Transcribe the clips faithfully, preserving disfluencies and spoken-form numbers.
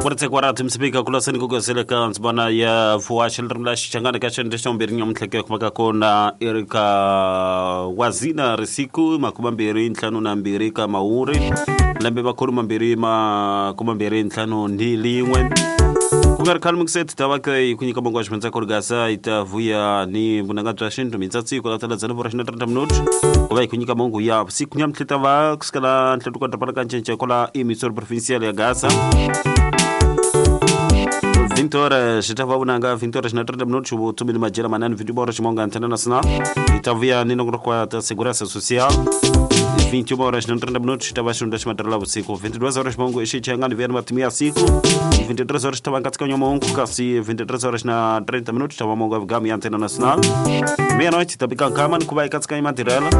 Kwartse msipika kulaseni kugoseleka ntsibana ya fuwashe rimla xichangana ka xende xa mbirhi nyamutlheke kumaka kona Erika Wazina risiku makuma mbirhi ntlhanu na mbirhi ka mawuri lembe makhulu mambirhi makuma mbirhi ntlhanu ni lin'we ku nga ri khale mukiseti ta va ke ku nyika mongo wa ximendza korigasa yi ta vuya ni vunanga bya xintu mintsatsi ku latela dzana vora xina trenta minuti ku va yi ku nyika mongo ya vusiku nyamutlhe ta va kusukela ntlhanu ka drapana ka ncince kola emissora provincial ya Gaza vinte horas tava vunanga vinte horas na trinta minutos o tumini majela manani vinte horas monga antena nacional itavuya nino kwa ta segurança social vinte e uma horas na trinta minutos tava xunda ximatrela vusiku vinte e duas horas mongo xichangani vena matimia siku vinte e três horas tava nkatsika mongo kasi vinte e três horas na trinta minutos tava mongo gami antena nacional meia-noite tabika nkama nikuba ikatsika matirela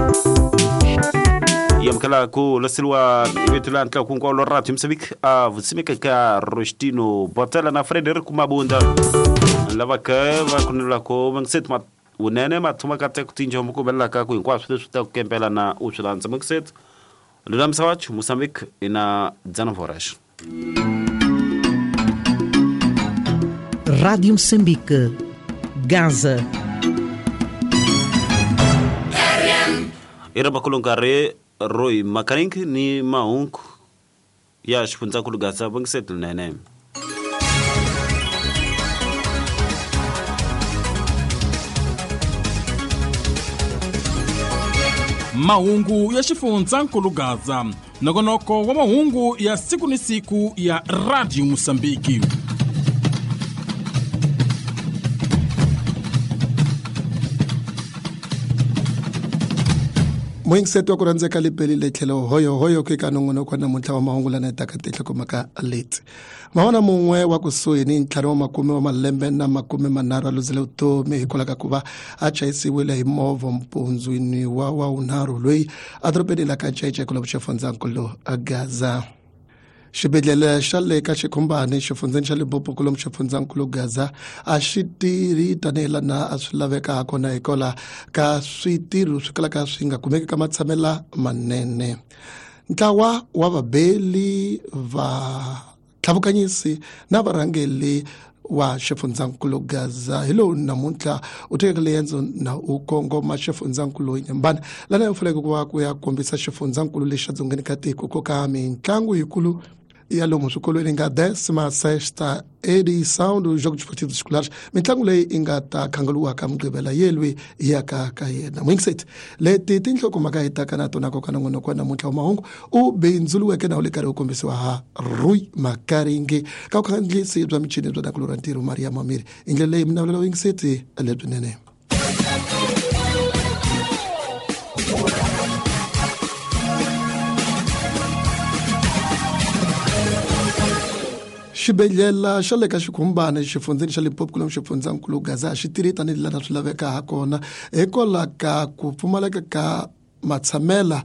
yamkela ku lasilwa ibetula ntla ku nkwalo radio Moçambique a vusimika ka Rostino Botela na Frederico Mabunda lava ka va kunela ko mangset ma unene mathuma ka te kutinja mukubela ka ku hinkwaswo leswi ta ku kempela na u swi landza mangset lulamisa wachu Moçambique ina dezenove horas. Rádio Moçambique, Gaza. Ira makulungare Roy Makarink ni maunku ya xifundzha kulugatsa vangisetu nene. Mahungu ya xifundzha nkulugatsa nongonoko wa mahungu ya siku ni siku ya Radio Moçambique. Moingiseto wa ku rhandzeka lipelile tlhelo hoyo hoyo ku eka nongonoko wa namuntlha wa mahungu lana taka tihlokomhaka leti mavona mun'we wa kusuhi ni ntlhanu wa makume wa malembe na makume manharhu a luzile vutomi hikwalaho ka ku va a chayisiwile hi movha mpundzwini wa wa wunharhu loyi a dorobeni la ka Ncece ku xifundzhankulu Gaza. Xibedhlele xa le ka Xikhumbani xifundzheni xa Limpopo kulomu xifundzankulu Gaza a xi tirhi tanihi lana a swi laveka hakona hikwalaho ka switirho swi kalaka swi nga kumeki ka matshamela manene. Ntlawa wa vabeli va tlhavukanyisi na varhangeli wa xifundzankulu Gaza hi lowu namuntlha u tekeke riendzo na u kongoma xifundzankulu Nyambani lana u faneleke ku va ku ya kombisa xifundzankulu lexi dzongeni ka tiko ko ka mitlangu yikulu ya lomu swikolweni nga décima sexta edição dos Jogos Desportivos Escolares mitlangu leyi yi nga ta khangeliwaka Mugqivela yelwi ya ka ka yena Moingiset leti tinhlokomhaka hi taka na tona koka nongonoko wa namuntlha wa mahungu u bindzuluweke na wu le karhi wu kombisiwa ha Rui Makaringi ka vukhandziyisi bya michini bya nakulu ra ntirho Maria Mamiri hi ndlela leyi minavulelo Moingiseti lebyinene. Xibedhlele xa le ka Xikhumbani xifundzheni xa Limpopo kulomu xifundzankulu Gaza xi tirhi tanihi lana swi laveka hakona hikwalaho ka ku pfumaleka ka matshamela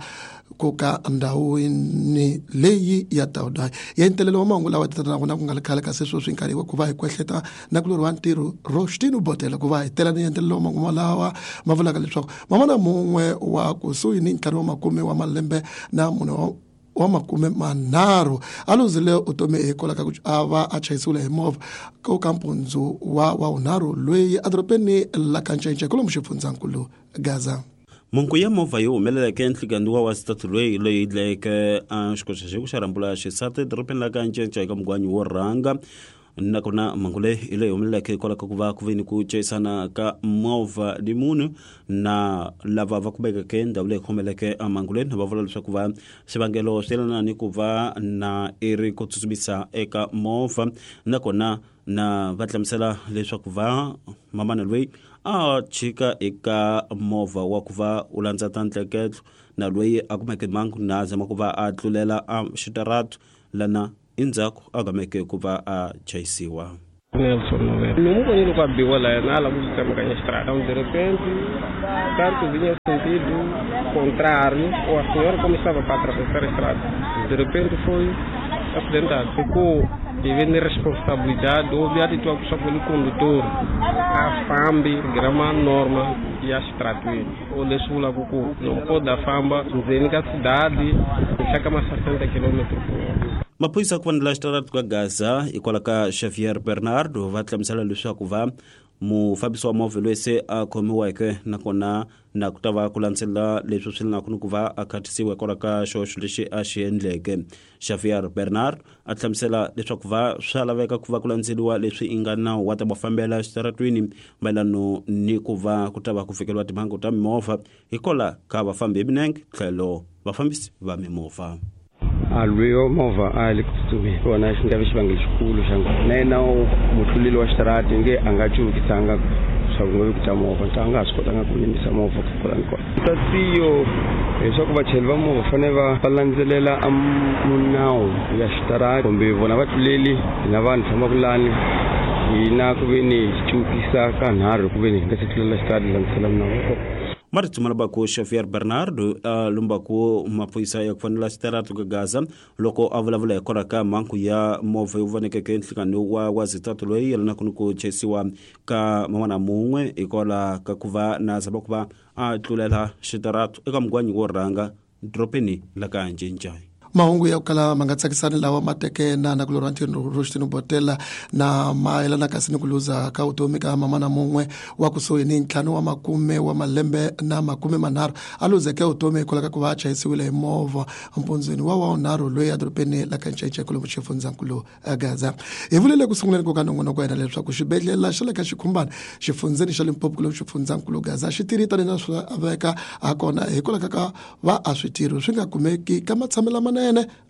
ku ka ndhawini leyi ya Tawudai ya ntelelo wa mahungu lawa tatana na ku nga ri khale kasi sweswi nkarhi wa ku va hi kwehleta na ku loriwa ntirho Rostino Botela ku va hi tela ni ntelelo wa mahungu lawa ma vulaka leswaku mamana mun'we wa kusuhi ni ntlhanu wa makume wa malembe na mune wa wa makume manharhu a luzile vutomi hikwalaho ka ku a va a chayisiwile hi movha ku ka mpundzu wa wa wunharhu loyi edorobeni la ka Ncece kulomu xifundzankulu Gaza. Mungu ya movha yo humeleleke enhlikani wa wasitatu loyi loyi dlayeke a xikoxa xeku xa rhambula xisati edorobeni la ka Ncece eka mugwanyi wo rhanga nakona mhangu leyi leyi humeleleke hikwalaho ka ku va ku ve ni ku chayisana ka movha ni munhu na lava va kumekeke ndhawu leyi khomeleke mhangu leyi va vula leswaku va xivangelo swi yelana ni ku va na i ri ku tsutsumisa eka movha nakona na va hlamusela leswaku va mamana loyi a chika eka movha wa ku va u landza ta ntleketlo na loyi a kumeke mhangu na zama ku va a tlulela a xitaratu lana endzhaku a gameke ku va a chayisiwa. Nelson Noel. Não bonito com a biola, nada, música me estrada. De repente, tanto vinha sentido contrário, ou a senhora como estava para atravessar a estrada. De repente foi acidentado. Ficou devendo responsabilidade, houve atitude pelo condutor. A fambi, grama norma e a estrada. O lesula kuku, não pode a famba, nzenika cidade, chega mais sessenta quilômetros por hora. Maphorisa ku fanela xitaratu ka Gaza hikwalaho ka Xavier Bernardo va hlamusela leswaku va mufambisi wa movha loyi se a khomiweke nakona na ku ta va ku landzelela leswi swi lanaku ni ku va a khatisiwa hikwalaho ka xihoxo lexi a xi endleke. Xavier Bernard a hlamusela leswaku va swa laveka ku va ku landzeliwa leswi i nga nawu wa ta va fambela xitaratwini mayelano ni ku va ku ta va ku fikeliwa timhangu ta mimovha hikwalaho ka vafambi hi milenge tlhelo vafambisi va mimovha. A lweyo movha a le ku tsutsumeni kona xi nga vi xivangelo xikulu xa nghozi na yena mutluleli wa xitarati nge a nga cuvukisanga swa ku nga vi ku ta movha a nga ha swi kotanga ku yimisa movha ku kula ni kona tatiyo leswaku vachayeri va movha fanele va va landzelela a munawu ya xitarati kumbe vona vatluleli na vanhu fambaka lani hina ku ve ni hi cuvukisa ka nharhu ku ve ni hi nga se tlulela xitarati hi landzela munawu. Marito malabako Xavier Bernardo a lumbaku maphorisa ya ku fanela xitaratu ka Gaza loko a vulavula hikwalaho ka mhangu ya movha yo vonekeke nhlikani wa wa zitatu loyi yelanaka ni ku chayisiwa ka man'wana mun'we hikwalaho ka ku va na zama ku va a tlulela xitaratu eka mugwanyi wo rhanga dorobeni la ka Ncincayi. Mahungu ya ku kala ma nga tsakisani lawa ma teke na na ku lorwa Rostino Botela na mayelana kasi ni ku luza ka vutomi ka mamana mun'we wa kusuhi ni ntlhanu wa makume wa malembe na makume manharhu a luzeke vutomi hikwalaho ka ku va a chayisiwile hi movha mpundzweni wa wa wunharhu loyi edorobeni la ka Ncincayi kwalomu xifundzankulu Gaza. Hi vulele ku sunguleni ko ka nongonoko wa hina leswaku xibedhlele xa le ka Xikhumbana xifundzeni xa Limpopo kwalomu xifundzankulu Gaza xi tirhi tanihi na swi laveka hakona hikwalaho ka va a switirho swi nga kumeki ka matshamelo lamanene.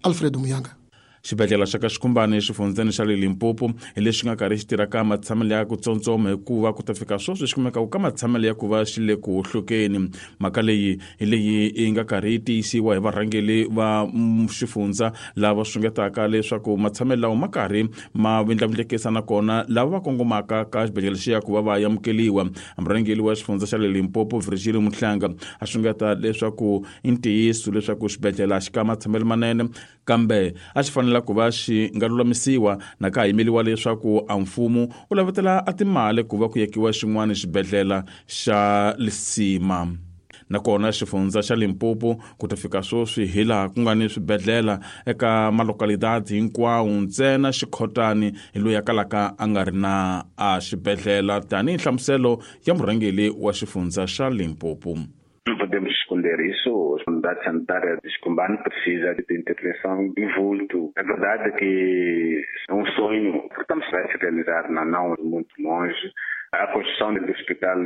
Alfred Muyanga. Xibedhlele xa ka Xikhumbani exifundzeni xa le Limpopo hi lexi nga karhi xi tirhaka matshamelo ya ku tsontsoma hikuva ku ta fika sweswi xi kumeka ka matshamelo ya ku va xi le ku hohlokeni. Mhaka leyi hi leyi yi nga karhi yi tiyisiwa hi varhangeli va xifundza lava sungetaka leswaku matshamelo lawa ma karhi ma vindlavindlekisa nakona lava va kongomaka ka xibedhlele xi ya ku va va amukeliwa. Murhangeli wa xifundza xa le Limpopo Virgilio Muhlanga a sungeta leswaku i ntiyiso leswaku xibedhlele a xi ka matshamelo manene kambe a xi fanele ku va xi nga lulamisiwa na ka yimeliwa leswaku a mfumo wu lavetela a timali ku va ku yekiwa xin'wana xibedhlele xa Lisima. Nakona xifundza xa Limpopo ku ta fika sweswi hi laha ku nga ni swibedhlele eka malokalidadi hinkwawo ntsena Xikhotani hi loyi a kalaka a nga ri na a xibedhlele tanihi nhlamuselo ya murhangeli wa xifundza xa Limpopo. Não podemos esconder isso. A unidade sanitária de Xikhumbani precisa de intervenção em vulto. É verdade que é um sonho que estamos a se realizar, não muito longe, a construção do hospital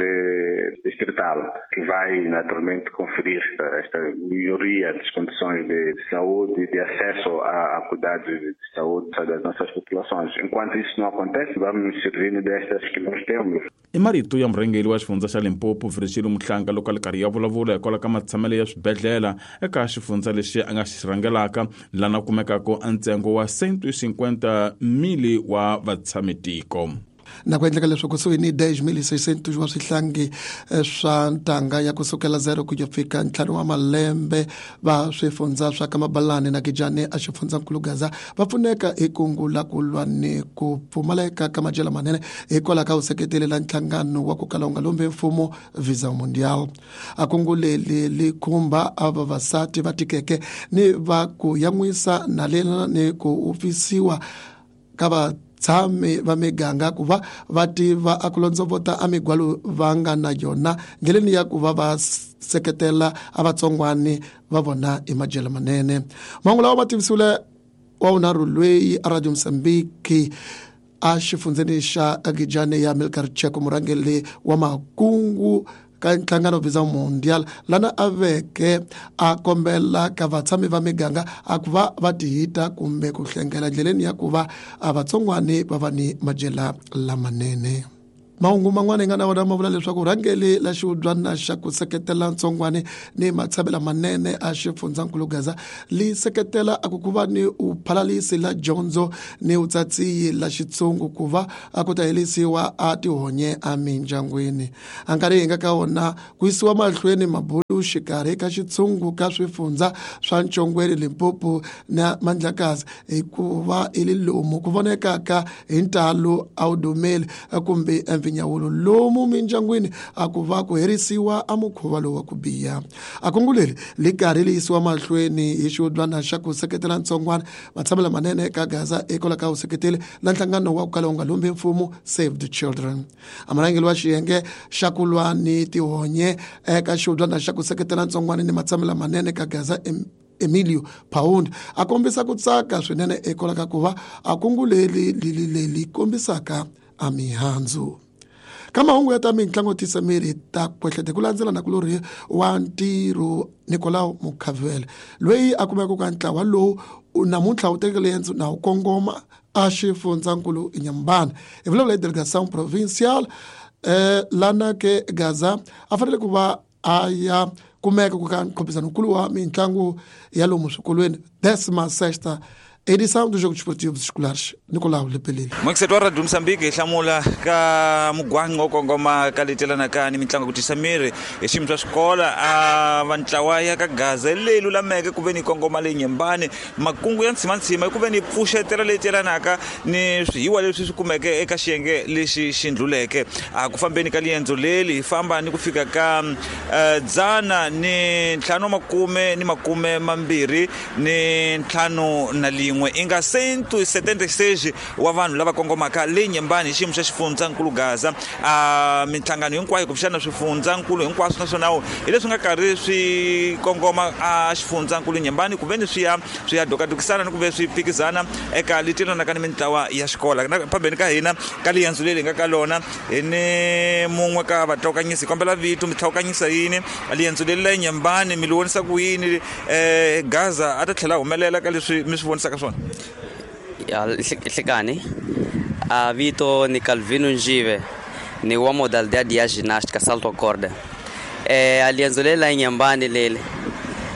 distrital, que vai naturalmente conferir esta melhoria das condições de saúde e de acesso a, a cuidados de saúde das nossas populações. Enquanto isso não acontece, vamos nos servindo destas que nós temos. I marito ya murhangeri wa xifundza xa Limpopo Virgilio Muhlanga loko a li karhi ya vulavula hikwalaho ka matshamelo ya swibedhlele eka xifundza lexi a nga xi rhangelaka lana kumekaka a ntsengo wa cento e cinquenta mili wa vatshamitiko. Na ku endleka leswaku kusuhi ni dez mil seiscentos wa swihlangi swa ntanga ya kusukela zero ku ya fika ntlhanu wa malembe va swifundza swa ka Mabalani na Gijani a xifundzankulu Gaza va pfuneka hi kungu la ku lwa ni ku pfumaleka ka madyelo manene hikwalaho ka vuseketeli la nhlangano wa ku kala wu nga lombi mfumo Visa Mundial. A kungu leri li khumba a vavasati va tikeke ni va ku yan'wisa na lena ni ku upfisiwa ka va tshami va miganga ku va va tiva a ku londzovota a migwalo va nga na yona ndleleni ya ku va va seketela a vatsongwani va vona hi madyelo manene. Mahungu lawa ma tivisiwile wa wunharhu loyi a Radio Mozambique a xifundzeni xa Gijani ya Milcar Cheko murhangeri wa makungu ka nhlangano Visa Mundial lana a veke a kombela ka vatshami va miganga a ku va va tihita kumbe ku hlengela ndleleni ya ku va a vatsongwani va va ni madyela lamanene. Mahungu man'wana hi nga na wona ma vula leswaku rhangeli la xihubyana xa ku seketela ntsongwani ni matshamelo manene a xifundzankulu Gaza li seketela a ku ku va ni u phalalisi la dyondzo ni utsatsiyi la xitsungu ku va a ku ta helisiwa a tihonye a mindyangwini. A nkarhi hi nga ka wona ku yisiwa mahlweni mabulu xikarhi ka xitsungu ka swifundza swa Ntshongweni, Limpopo na Mandlakazi hikuva i li lomu ku vonekaka hi ntalo a wu dumeli kumbe mpfinyawulo lomu mindyangwini a ku va ku herisiwa a mukhuva lowu wa ku biha. A kungu leri li karhi li yisiwa mahlweni hi xihubyana xa ku seketela ntsongwana matshamelo manene eka Gaza hikwalaho ka vuseketeli na nhlangano wa ku kala wu nga lumbi mfumo Save the Children. A murhangeri wa xiyenge xa ku lwa ni tihonye eka xihubyana xa ku seketela ntsongwana ni matshamelo manene eka Gaza Emilio Pound a kombisa ku tsaka swinene hikwalaho ka ku va a kungu leri li kombisaka a mihandzu. Ka mahungu ya ta mitlangu tisa miri ta kwehlete ku landzela na kulori wa ntirho Nicolau Mukhavele loyi a kumeka ka ntlawa lowu namuntlha wu tekele riendzo na wu kongoma a xifundzankulu Inhambane. Hi vulavula hi delegação provincial eh, lana ke Gaza a fanele ku va a ya kumeka ku ka nkhompisano-nkulu wa mitlangu ya lomu swikolweni décima sexta edição dos Jogos Esportivos Escolares Nicolau Lepelile. Mwekiseto wa Radio Mozambique hi hlamula ka mugwanga wo kongoma ka letelanaka ni mitlangu ku tisa miri hi xiyimo swa xikola a va ntlawa ya ka Gaza leyi lulameke ku ve ni kongoma leyi Nyembani makungu ya ntshimantsima ku ve ni pfuxetela leyi telanaka ni swihiwa leswi swi kumeke eka xiyenge lexi xi ndluleke. A ku fambeni ka liendzo leli hi famba ni ku fika ka dzana ni ntlhanu makume ni makume mambirhi ni ntlhanu na lin'we inga cento e setenta e seis wa vanhu lava kongomaka le Nyembani hi xiyimo xa xifundzankulu Gaza. A minhlangano hinkwayo kumbexana swifundzankulu hinkwaswo naswona hi leswi nga karhi swi kongoma a xifundzankulu Nyembani ku ve ni swi ya swi ya dokadokisana ni ku ve swi phikizana eka letilanaka ni mintlawa ya xikola. Phambeni ka hina ka liendzo leri hi nga ka lona hi ni mun'we ka vatlokanyisi kombela vito mi tlhawukanyisa yini liendzo leri la Nyembani mi li vonisa ku yini um Gaza a ta tlhela humelela ka leswi mi swi vonisaka swona? Ya hlekani a vito ni Calvino Njive ni wa modalidade ya ginástica salto a corda. Eh alienzo lela Inhambane lele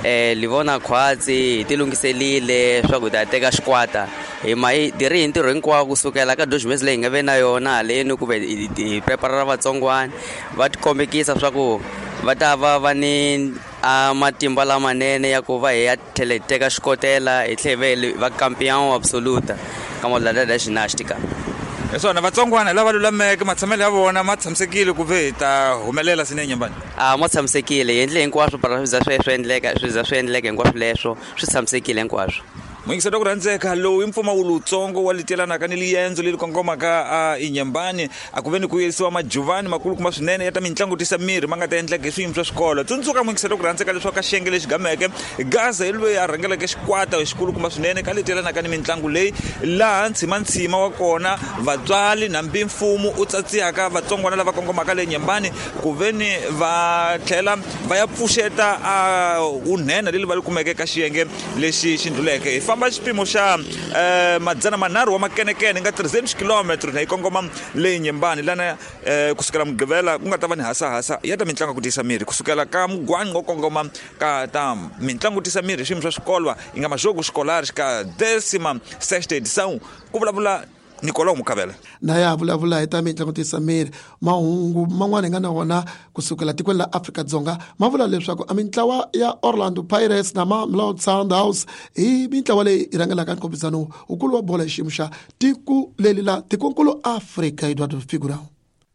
eh livona khwatsi hi tilunghiselile swa ku ta teka xikwata hi ma hi tirhi hi ntirho hinkwawo kusukela ka dois meses leyi hi nga ve na yona haleni ku ve hi prepara vatsongwana va tikombekisa swa ku va ta va va ni a matimba lamanene ya ku va hi ya tlhela hi teka xikotela hi tlhela hi va campeão absoluta ka modalidade ya ginástica. Hi swona vatsongwana lava lulameke matshamelo ya vona ma tshamisekile ku ve hi ta humelela swinene Nyembani? A ma tshamisekile hi endle hinkwaswo para swi za swi swi endleka swi za swi endleka hinkwaswo leswo swi tshamisekile hinkwaswo. Muyingiselo ku rhandzeka lowu i mpfumawulo wutsongo wa litelanaka ni liendzo leri kongomaka a Inhambane a ku ve ni ku yisiwa majuvani makulukumba swinene ya ta mitlangu tisa miri ma nga ta endleka hi swiyimo swa xikolo. Tsundzuka muyingiselo ku rhandzeka leswaku ka xiyenge lexi gameke Gaza hi loyi a rhangeleke xikwata xikulukumba swinene ka letelanaka ni mitlangu leyi laha ntshimantsima wa kona vatswali nambi mfumo u tsatsiyaka vatsongwana lava kongomaka le Inhambane ku ve ni va tlhela va ya pfuxeta a vunhena leri va li kumeke ka xiyenge lexi xi ndluleke. Hi famba xipimo xa eh madzana manharhu wa makenekene nga trezentos kilometros na hi kongoma le Inhambane lana eh kusukela Mugqivela ku nga ta va ni hasahasa ya ta mitlangu ku tisa miri kusukela ka mugwangi wo kongoma ka ta mitlangu tisa miri xiyimo swa xikolwa yi nga majogo escolares ka décima sexta edição ku vulavula Nicolau Mukavela. Na ya vulavula hi ta mitlangu tisa miri mahungu man'wana hi nga na wona kusukela tikweni la Afrika-Dzonga ma vula leswaku a mintlawa ya Orlando Pirates na Mamelodi Sundowns hi mintlawa leyi yi rhangelaka nkhompisano wukulu wa bolo hi xiyimo xa tiko leri la tikonkulu Afrika Eduardo Figurão.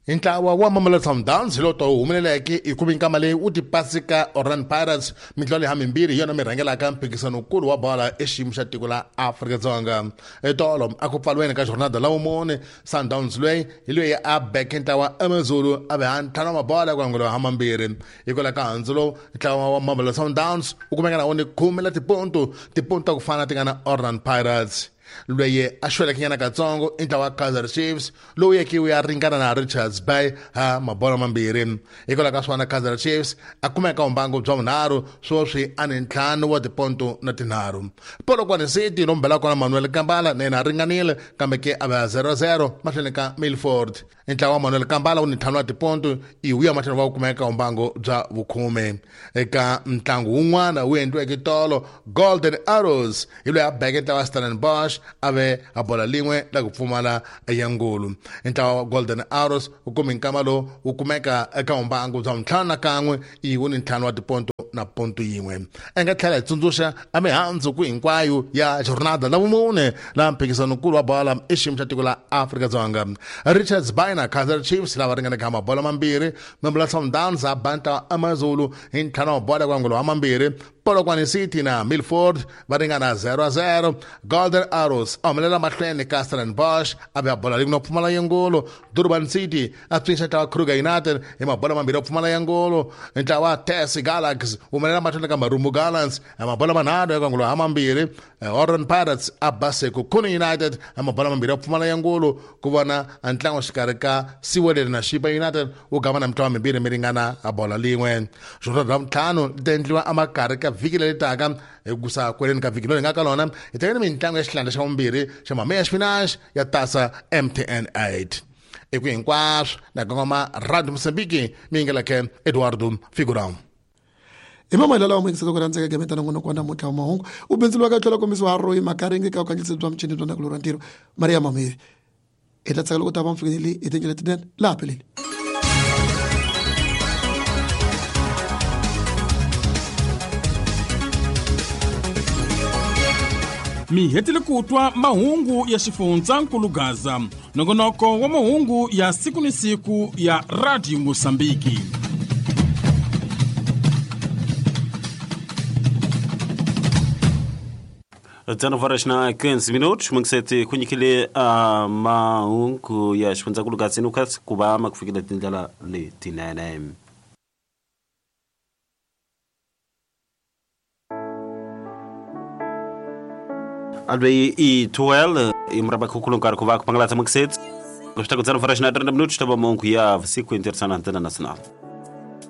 Hi ntlawa wa Mamelodi Sundowns hi lowu humeleleke hi ku minkama leyi wu tipasi ka Orlando Pirates mitlawa leyi hamimbirhi hi yona mi rhangelaka mphikizano-nkulu wa bola exiyimo xa tiko la Afrika-Dzonga. Etolo a ku pfaliweni ka jornada la vumune Sundowns loyi hi loyi a beke ntlawa AmaZulu a ve ha ntlhanu wa mabola ku angula ha mambirhi. Hikwalaho ka handzu lowu ntlawa wa Mamelodi Sundowns wu kumeka na wona khume la tiponto tiponto ta ku fana ti nga na Orlando Pirates. Loyi a xweleke nyana katsongo i ntlawa wa Kaizer Chiefs lowu yeke wu ya ringana na Richards Bay ha mabola mambirhi. Hikwalaho ka swona Kaizer Chiefs a kumeka vumbangu bya vunharhu sweswi a ni ntlhanu wa tiponto na tinharhu. Polokwane City lomu bela kona Manuel Kambala na yena a ringanile kambe ke a va zero zero mahlweni ka Milford. Ntlawa wa Manuel Kambala wu ni ntlhanu wa tiponto i wu ya mahlweni va kumeka vumbangu bya vukhume. Eka ntlangu wun'wana wu endliweke tolo Golden Arrows hi loyi a beke ntlawa wa Stellenbosch a ve a bola lin'we la ku pfumala ya ngulu. Ntlawa wa Golden Arrows wu kume nkama lowu wu kumeka eka vumbangu bya ntlhanu na kan'we i wu ni ntlhanu wa tiponto na ponto yin'we. A nga tlhela hi tsundzuxa a mihandzu ku hinkwayo ya jornada la vumune la mphikizano-nkulu wa bola i xiyimo xa tiko la Afrika-Dzonga. Richards Bay na Kaizer Chiefs lava ringanaka mabolo mambirhi, Mamelodi Sundowns a banta AmaZulu hi ntlhanu wa bola kwa ngolo wa mambirhi, Polokwane City na Milford va ringana zero a zero, Golden Arrows a humelela mahlweni ka Stellenbosch a vuya bola rin'we pfumala ya ngolo, Durban City a pfinxa ntlawa Kruger United hi mabolo mambirhi yo pfumala ya ngolo, ntlawa Tesi Galaxy humelela mahlweni ka Marumo Gallants hi mabolo manharhu ya ngolo ha mambirhi, Orlando Pirates a ba Sekhukhune United hi mabolo mambirhi yo pfumala ya ngolo, ku vona ntlangu xikarhi ka Siwelele na Chipa United wu gama na mitlawa mimbirhi mi ringana a bola lin'we. Jornada ya vuntlhanu ti ta endliwa emakarhi ka vhiki leri taka hi kusa kweleni ka vhiki leri hi nga ka lona hi tekeni mitlangu ya xihlandla xa vumbirhi xa Mameya Spinach ya tasa M T N eight. Eku hinkwaswo na kongoma Radio Mozambique mi yingeleke Eduardo Figurão. Hi mamayela lawa muyingiselo ku rhandzeka gemeta nongonoko wa namuntlha wa mahungu u bindzuriwaka tlhela kombisiwa ha Roy Makaringi ka vukandziyisi bya muchini bya ndzhaku ra ntirho Maria Mamiri. Hi ta tsaka loko ta va mfikeleli hi tindlela letinene laha peleni. Mi hetile ku twa mahungu ya xifundzankulu Gaza, nongonoko wa mahungu ya siku ni siku ya Radio Mozambique. dezenove horas na quinze minutos, mangisete kunyikile a mahungu ya xifundzankulu Gaza nukasi ku va ma ku fikela tindlela letinene. Albe i twelve imraba kukulu nkarhi ku va ku pangalatsa mangisete ku swi ta ku dezenove horas na trinta minutos ta va mahungu ya siku internacional antena nacional.